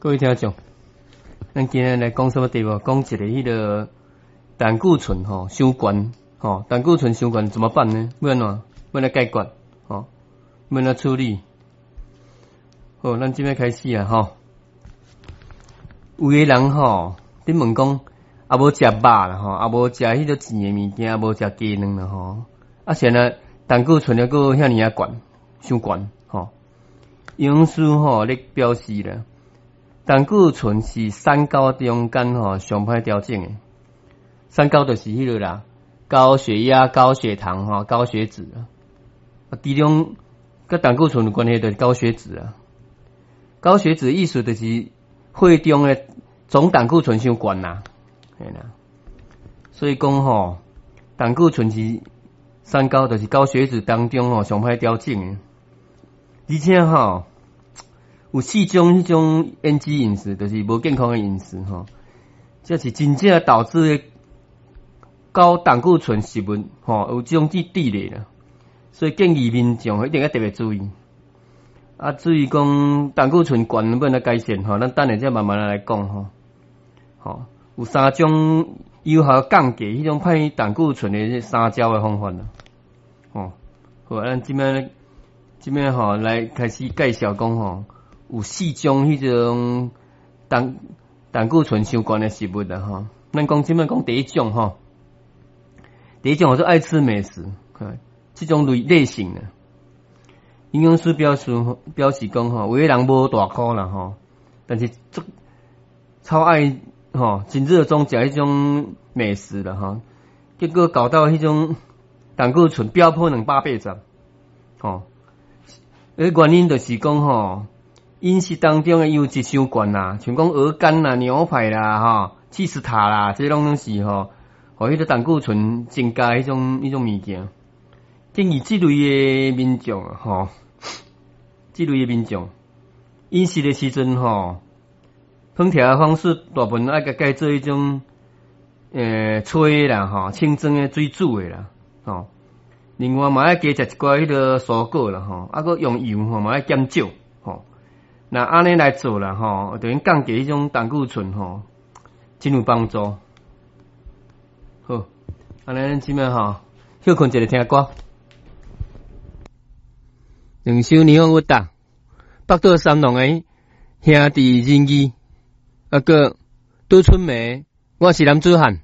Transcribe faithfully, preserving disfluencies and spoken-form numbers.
各位聽眾，咱今日來講啥物題目？講一个彼个膽固醇吼傷懸吼，膽固醇傷懸怎麼辦呢？欲按怎？欲按怎解決？吼，欲按怎處理？好，咱這擺開始啊吼。有个人吼，你問講，啊無食肉啦吼，啊無食彼个甜的物件，啊無食雞卵啦吼，啊是按怎膽固醇猶閣遐爾仔懸，傷懸吼。營養師吼咧表示啦，膽固醇是三高中間吼上歹調整的。三高就是彼个啦，高血壓、高血糖、吼高血脂啊。啊，其中佮膽固醇有關係就是高血脂啊。高血脂意思就是血中的總膽固醇傷懸啦，嘿啦。所以講吼，膽固醇是三高，就是高血脂當中吼上歹調整的。而且吼，有四種彼種 N G 飲食，就是無健康的飲食吼，這是真正導致的高膽固醇食物吼，有這種比例啦。所以建議民眾一定要特別注意。啊，至於講膽固醇懸欲按怎改善吼，咱等下再慢慢來講吼。吼，有三種有效降低彼種歹膽固醇的三招的方法啦。吼，好，咱這擺這擺吼來開始介紹講吼，有四種彼種膽膽固醇傷懸的食物啦吼。咱講這擺講第一種吼，第一種叫做愛吃美食，這種類類型的。營養師表示表示講吼，有的人無大箍啦吼，但是足超愛吼，真熱衷食彼種美食啦吼，結果搞到彼種膽固醇飆破兩百八十，吼，原因就是講吼，飲食當中的油脂傷懸啦，像講鵝肝啦、牛排啦、吼、起司塔啦，這攏攏是吼，予彼个膽固醇增加彼種彼種物件。建議這類的民眾吼，這類的民眾飲食的時陣吼，烹調的方式大部分愛共改做彼種，呃，炊啦吼，清蒸的水煮的啦，吼。另外嘛愛加食一寡彼个蔬果啦吼，啊閣用油吼嘛愛減少吼。若按呢來做啦吼，就能降低彼種膽固醇吼，真有幫助。好，按呢咱這擺吼，歇睏一下聽歌。兩首霓虹烏達，北島三郎的兄弟仁義，啊閣杜春梅，我是男子漢。